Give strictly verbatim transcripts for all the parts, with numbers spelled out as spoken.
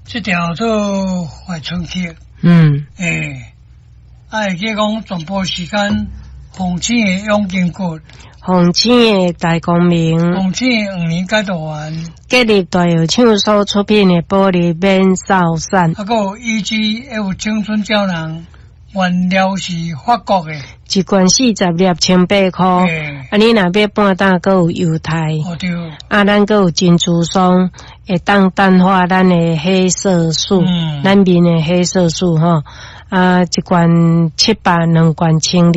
這條做懷春曲。嗯。欸，啊，會記講全部時間，鳳青的養筋骨，鳳青的大光明，鳳青的黃連解毒丸，吉利大藥廠所出品的保利免瘦散，啊，閣有 E G F 青春膠囊，原料是法國的，一罐四十粒，千八箍。啊，你若買半打，閣有猶太。哦對。啊，咱閣有珍珠霜，會當淡化咱的黑色素，嗯、咱面的黑色素吼。啊，一罐七百，兩罐千二。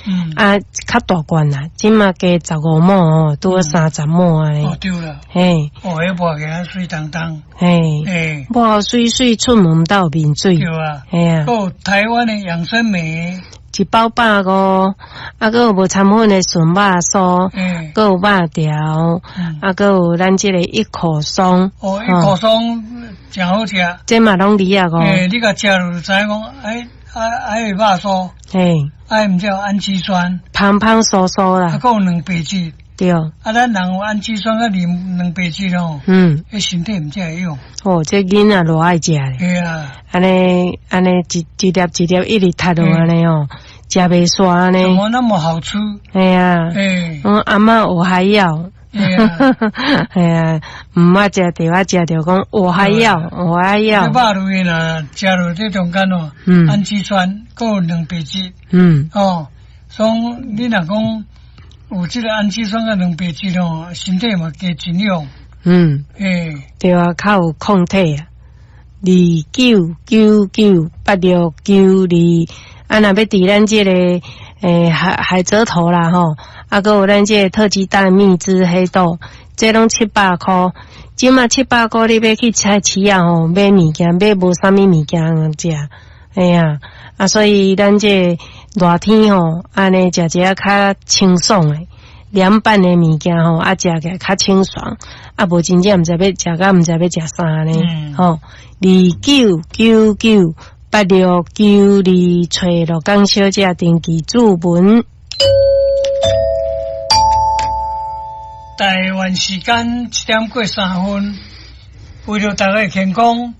嗯。啊，較大罐啦，這馬加十五毫哦，拄好三十毫按呢。哦對啦。嘿。哦，彼抹起來媠當當。嘿。嘿。抹媠媠出門斗面水。對啊。嘿啊。閣有台灣的養生美。一包百五，啊，閣有無摻粉的純肉酥，閣有肉條，啊，閣有咱這个一口松。哦，一口松誠好食。這嘛攏二仔五。欸，你共食落就知影講，哎，啊，啊，彼肉酥。嘿。啊，毋才有氨基酸。芳芳酥酥啦。啊，閣有蛋白質。對。啊，咱人有氨基酸佮蛋蛋白質吼。嗯。彼身體毋才會用。哦，這囡仔偌愛食咧。對啊。按呢按呢，一一粒一粒一直吞落按呢哦。食袂煞按呢？怎麼那麼好吃？嘿啊，我阿嬤我還要，嘿啊，毋捌食著啊，食著講我還要，我還要。這肉類若食落這中間哦，氨基酸閣有蛋白質，嗯，哦，所以你若講有這个氨基酸佮蛋白質哦，身體嘛加營養。嗯，欸，對啊，較有抗體啊。二九九九八六九二。啊，若欲佇咱這个欸海海蜇頭啦吼，啊，閣有咱這个特級大蜜汁黑豆，這攏七百箍。這馬七百箍，你欲去菜市仔吼買物件，買無啥物物件通食。哎呀，啊，所以咱這熱天吼，按呢食一下較清爽的涼拌的物件吼，啊，食起來較清爽。啊，無真正毋知欲食甲毋知欲食啥呢？吼，二九九九。八六九二，揣鹿港小姐登记注文。台灣時間七點過三分，為著大家的健康，